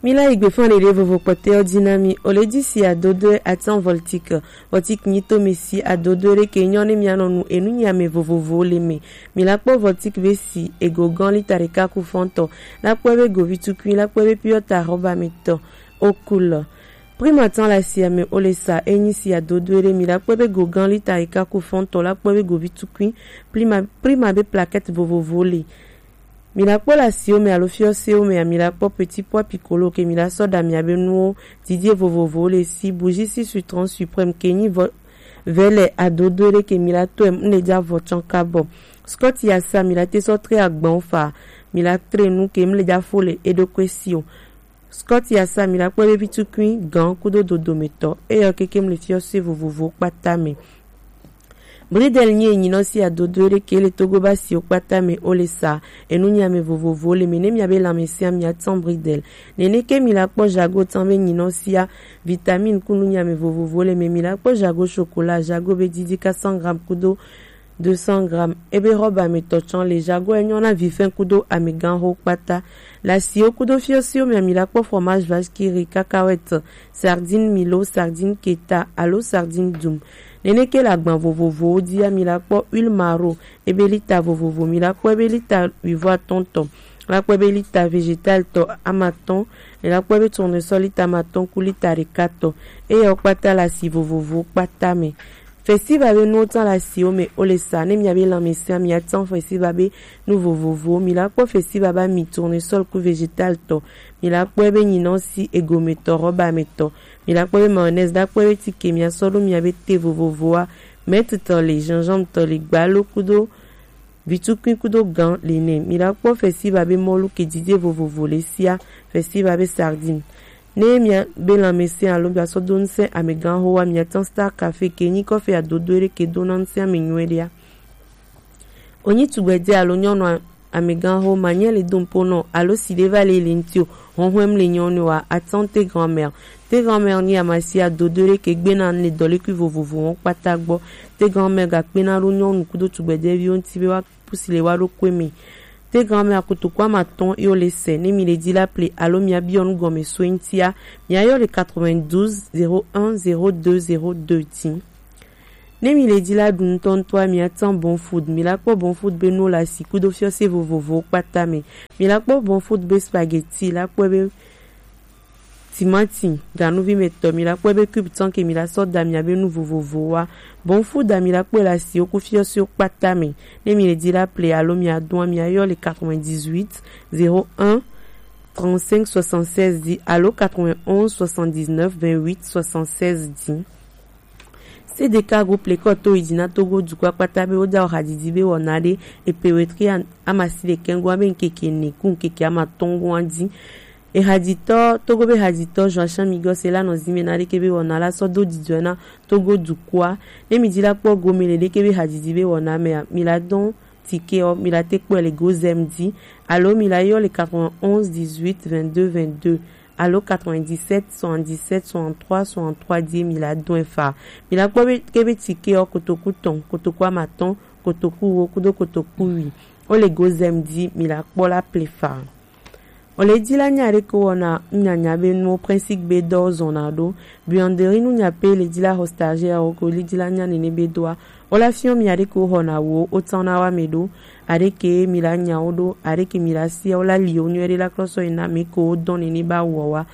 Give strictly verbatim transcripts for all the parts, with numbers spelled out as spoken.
Mi la yi gbe fan ɖeɖe vovo kpɔtɛ ɔ ji na mi. O le ji si adodo atan Voltic. Voltic nyi to mi si adodo ɖe ke nyɔ ne mia nɔ nu enu nyi ame vovovo le me. Mi la kpɔ Voltic be si ego gan lita ɖeka ku fɔntɔ. La kpɔ be govi tukui, la kpɔ be piɔta rɔba me tɔ. O kul. Prima tan la si ame o le sa enyi si adodo ɖe mi la kpɔ be go gan lita ɖeka ku fɔntɔ la kpɔ be govi tukui. Prima, prima be plaquette vovovo le. Mi la kpɔ le asiwo me alo fiɔsewo mea, mi la kpɔ petit pois piccolo ke mi la sɔ ɖa mia be nuwo didie vovovowo le si, bougie si citron suprême ke nyi vɔ vɛ le adodo ɖe ke mi la tɔe mu le ja vɔ tsɔn kabɔ. Scott ya sa mi la te sɔ tre agban fa, mi la tre nu ke mu le ja fo le eɖokui si o. Scott ya sa mi la kpɔ be vitukui gan kudo dodometɔ eyɔ keke mu le fiɔse vovovo kpata me. Bridel nyi enyinɔ si adodo ɖe ke le Togo ba siwo kpata me o le sa enu nyi ame vovovo le me ne mia be lanmese mia tɔn bridel. Nene ke mi la kpɔ jago tɔn be nyinɔ sia vitamine kunu nyi ame vovovo le me mi la kpɔ jago chocolat jago be didi quatre cents grammes kudo deux cents grammes ebe rɔba me tɔ tsɔn le jago enyɔ na vifɛn kudo ameganho kpata. Le asiwo kudo fiɔsiwo mea mi la kpɔ fromage vache qui rit, cacahuète, sardine milo, sardine keta alo sardine dum. Nene ke le agban vovovowo dia mi la kpɔ huile maro ebe lita vovovo mi la kpɔ ebe lita huivɔ atɔn tɔ, la kpɔ ebe lita végétal tɔ amatɔn, mi la kpɔ ebe tournesol lita amatɔn ku lita ɖeka tɔ. Eyɔ kpata le asi vovovowo kpata me. Festival be nuwo tɔn le asiwo me o le sa ne mia be lanmese mia tɔn festival be nu vovovowo mi la kpɔ festival ba mi tournesol ku végétal tɔ, mi la kpɔ ebe nyinɔ si egome tɔ rɔba me tɔ, mi la kpɔ ebe mayonnaise la kpɔ ebe tike mia sɔ ɖo mia be te vovovoa, mɛtitɔ le, gingembre tɔ le, gbalo kudo vitukui kudo gan le nɛ. Mi la kpɔ festival be mɔlu ke didie vovovo le sia, festival be sardine. Ne mia be lanmese alo mia sɔ do ŋsɛ ameganho wa mia tɔn Star Café ke nyi kɔfe adodo ɖe ke do na ŋsɛ ame nyuie ɖea. Onyi tugbɛdɛ alo nyɔnu ameganho ma nyɛ le do ŋpo nɔ alo si ɖe va le le ŋti o, hɔnhɔn le nyɔnu wa atɔn te grand-mère. Te grand-mère nyi amasia dodo ɖe ke gbe na le dɔlekui vovovo wɔn kpata gbɔ. Te grand-mère ga kpe na ɖo nyɔnu kudo tugbɛdɛviwo ŋti be wa pusi le wa ɖo kue me. Te grand-mère kotoku amatɔn yo le sɛ ne mi le di la ple alo mia biɔ nu gɔme so ŋtia, mia yɔ le quatre-vingt-douze zéro un zéro deux zéro deux dzi. Ne mi le di la ɖu ŋutɔŋutɔa mia tɔn Bon Food, mi la kpɔ Bon Food be nu le asi kudo fiɔse vovovowo kpata me. Mi la kpɔ Bon Food be spaghetti la kpɔ be timati ganuvi me tɔ mi la kpɔ be cube tɔn ke mi la sɔ da mia be nu vovovowa. Bon Food a mi la kpɔ le asiwo ku fiɔsewo kpata me. Ne mi le di la ple alo mia dɔn mia yɔ le quatre-vingt-dix-huit zéro un trente-cinq soixante-seize dix alo quatre-vingt-onze soixante-dix-neuf vingt-huit soixante-seize dix. C D K groupe le kɔ to yi dzi na Togo dukɔ kpata be wo da o hadidi be wɔna ɖe epe wetri amasi ɖekɛ ŋgɔ be ŋkeke ne ku ŋkeke amatɔn ŋgɔ dzi. Ehadzitɔ Togo be hadzitɔ Joachim Migos la nɔ zime na ɖeke be wɔna la sɔ do dzidzɔe na Togo dukɔa. Ne mi di la kpɔ gome le ɖeke be hadzidzi be wɔna mea, mi la dɔn tike ɔ, mi la te kpɔe le Gozem di alo mi la yɔ le quatre-vingt-onze dix-huit vingt-deux vingt-deux alo quatre-vingt-dix-sept soixante-dix-sept soixante-trois soixante-trois di mi la dɔn efa. Mi la kpɔ be ke be tike ɔ kotoku tɔn, kotoku amatɔn, kotoku wo kudo kotoku wi. O le Gozem di mi la kpɔ la ple fa. O le di la nya ɖe ko wɔna nunyanya be nuwo principe be dɔ zɔna ɖo. Buanderie nunya pe le di la xɔ stagiaire ko le di la nya nene be doa. O la fiɔ mi aɖe ko xɔna wo o tɔn na wa me ɖo. Aɖe ke mi la nya wo ɖo. Aɖe ke mi la sia o la li o nyuie ɖe la klɔsɔ yi na mi ko o dɔn nene ba wɔ wa.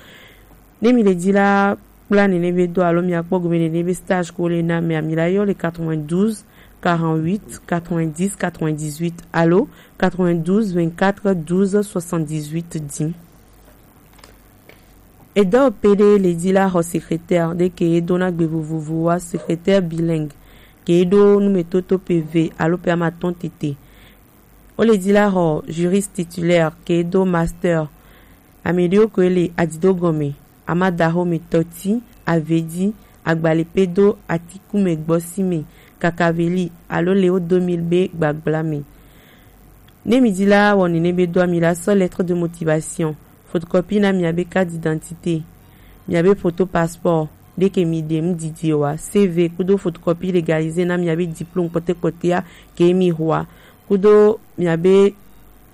Ne mi le di la kpla nene be do alo mia kpɔ gome nene be stage ko le na mea, mi la yɔ le quatre-vingt-douze quarante-huit quatre-vingt-dix quatre-vingt-dix-huit alo quatre-vingt-douze vingt-quatre douze soixante-dix-huit di. Edɔ pe ɖe le di la xɔ secrétaire ɖe ke dona gbe vovovo wa secrétaire bilingue ke ɖo numetoto pe ve alo pe amatɔn tete. O le di la xɔ juriste titulaire ke do master. Ame ɖewo koe le adido gɔme, amadaxome tɔti, avedi, agbalipedo, atikume gbɔsime, kakaveli alo le wo do mil be gbagbla me. Ne mi di la wɔ nene be do mi la sɔ lettre de motivation, photocopie na mia be carte d'identité, mia be photo passeport, ɖe ke mi ɖe nu didi wa, C V kudo photocopie légalisée na mia be diplôme kpɔtɛkpɔtɛa ke mi xɔa, kudo mia be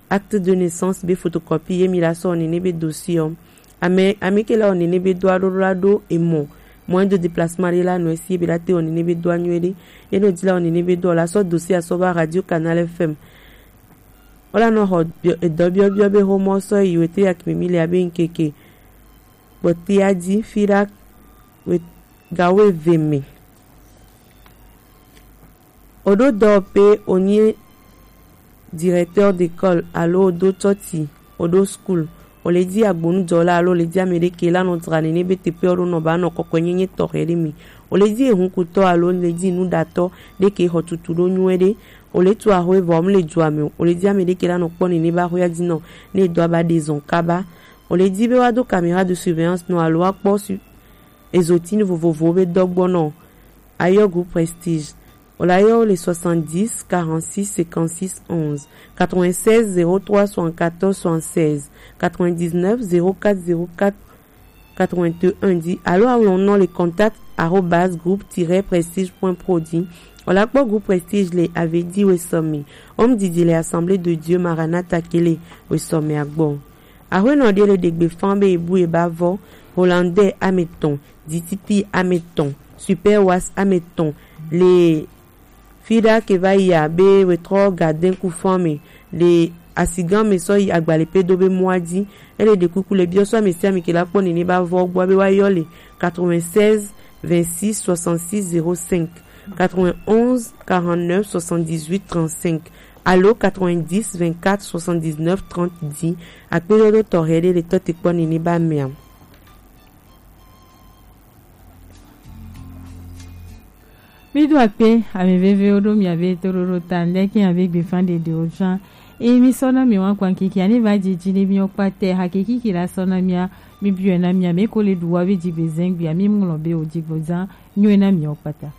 acte de naissance be photocopie ye mi la sɔ nene be dossier ɔ. Ame ame ke la wɔ nene be do aɖo la ɖo emɔ. Mɔ edo déplacement ɖe la nɔ esi ebe la te wɔ nene be do anyuie ɖe. Eno di la wɔ nene be do la sɔ dossier asɔ ba Radio Canal F M. Wala nɔ xɔ edɔ biɔbiɔ be xomɔ sɔ yi wete ya kimi mi le abe nkeke kpɔtea di fi ɖa gawo eve me. Oɖo dɔwɔƒe, onye directeur d'école alo oɖo tsɔtsi, oɖo school, ole di agbonudɔwɔla alo ole di ame ɖe ke la nɔ dzra nene be teƒe oɖo nɔ ba nɔ kɔkɔenyenye tɔxɛ ɖe mi. Ole di ehunkutɔ alo ole di nuɖatɔ ɖe ke xɔ tutu ɖo nyuie ɖe. Ole tu axwe vɔ mu le dua me o. Ole di ame ɖe ke la nɔ kpɔ nene ba axwea di nɔ ne edɔ aba ɖe zɔn kaba. Ole di be wa do caméra de surveillance nɔ alo wa kpɔ su ezotinu vovovowo be dɔgbɔnɔ. Ayɔ groupe Prestige. Wòle ayɔ le soixante-dix quarante-six cinquante-six onze, quatre-vingt-seize zéro trois soixante-quatorze soixante-seize, quatre-vingt-dix-neuf zéro quatre zéro quatre quatre-vingt-un di alo aŋlɔ nɔ le contact arobase groupe tiret prestige point pro di. Wòle akpɔ groupe Prestige le Avedi Wesome. Home didi le Assemblée de Dieu Maranatha ke le Wesome agbɔ. Ahuenɔ ɖe le ɖegbe fan be ebu eba vɔ, Hollandais ametɔn, Dititi ametɔn, Super Was ametɔn le fi ɖa ke va yi abe wetrɔ Gardin Kufan me le asigan me sɔ yi agbalepe do be mɔa di. Ele ɖe kuku le biɔ sɔ ame sia ame ke la kpɔ nene ba vɔ gbɔ be wa yɔ le quatre-vingt-seize vingt-six soixante-six zéro cinq, quatre-vingt-onze quarante-neuf soixante-dix-huit trente-cinq alo quatre-vingt-dix vingt-quatre soixante-dix-neuf trente di. Akpedodo tɔxɛ ɖe le tɔ te kpɔ nene ba mea. Mi do akpe ame vevewo ɖo miabe toɖoɖo ta ŋɖe ke abe gbefa ɖeɖewo tsã. Eye mi sɔ na mi wa kpa kiki ani va dzidzi ne mi kpata hakiki la sɔ na mia mi biɔ na mia me ko le ɖu wa be dzigbe zengbe mi ŋlɔ be o dzigbo zã nyuie na mi kpata.